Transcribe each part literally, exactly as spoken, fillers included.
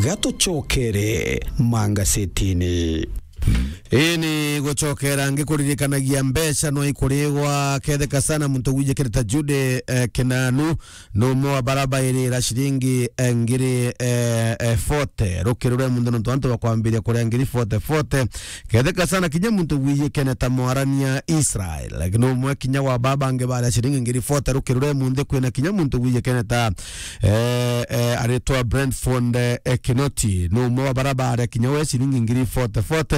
Gatucokere mangasetini. Ii ni gucokera ngikuririkanagia mbeca no ikurigwa ketheka sana muntu wijikire ta Jude, eh, Kinanu, no umwe wa baraba irira ciringi, eh, ngiri, eh, eh, forty. Rukirure muntu nontu antu bakwambiria kuria ngiri forty, forty. Ketheka sana kinya muntu wijikene ta mwarania Israel. Like, no umwe kinya wa baba angi baria ciringi ngiri forty. Rukirure munthi kwina kinya muntu wijikene ta, eh, eh, aritwa Brentford, eh, eh, Kinoti. No umwe wa baraba aria kinya we ciringi ngiri forty, forty.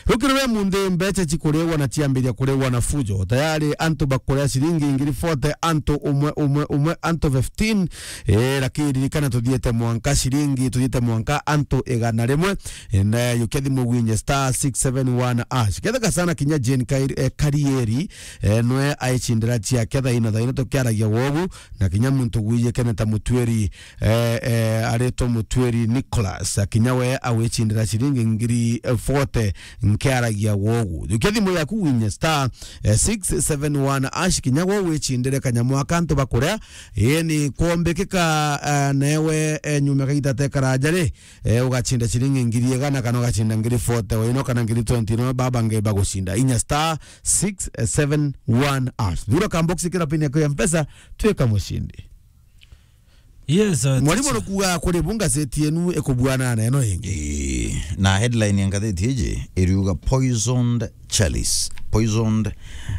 Rukirure munthi mbeca cikurigwa na ciambiria kurigwa na fujo. Tayari antu bakuria ciringi ngiri forty, antu umwe, umwe, umwe, antu fifteen. Eh, lakini ririkana tuthiete mwanka ciringi, tuthiete mwanka antu igana rimwe. Na yukia thimu gwinye star six seven one hash. Ketheka sana kinya Jane Kairi-, eh, Karieri, eh, nwe aicindira ciake thaino, thaino tukiaragia wogu, na kinya muntu gwijikene ta Mutwiri, eh, eh, aritwa Mutwiri Nicholas, akinya we awicindira ciringi ngiri forty nkiaragia wogu. Yukia thimu yaku gwinye star, eh, six seven one hash, kinya we wicindire kanyamu aka antu bakuria, ii ni kwombikika, eh, newe, eh, nyuma kaita tekaraja ri, eh, ugacinda ciringi ngiri igana kana ugacinda ngiri forty, waino kana ngiri twenty, no baba ngeba gucinda. Inya star six seven one hash. Thura kamboksi kira pini yako ya Mpesa, twika mucindi. Yes, uh, mwalimu teacher. Nukuga kuri bu ngazeti yenu ikubuana na ino ingi. Ii, na headline ya ngatheti iji iriuga poisoned chalice. Poisoned,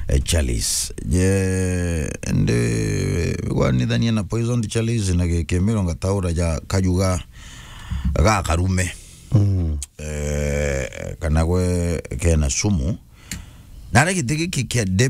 eh, chalice. Je, ndi gwanithania na poisoned chalice na gikimiro ngataura ja kajuga ga karume. Mm. Eh, kana gwe kena sumu. Na aria giti giki kia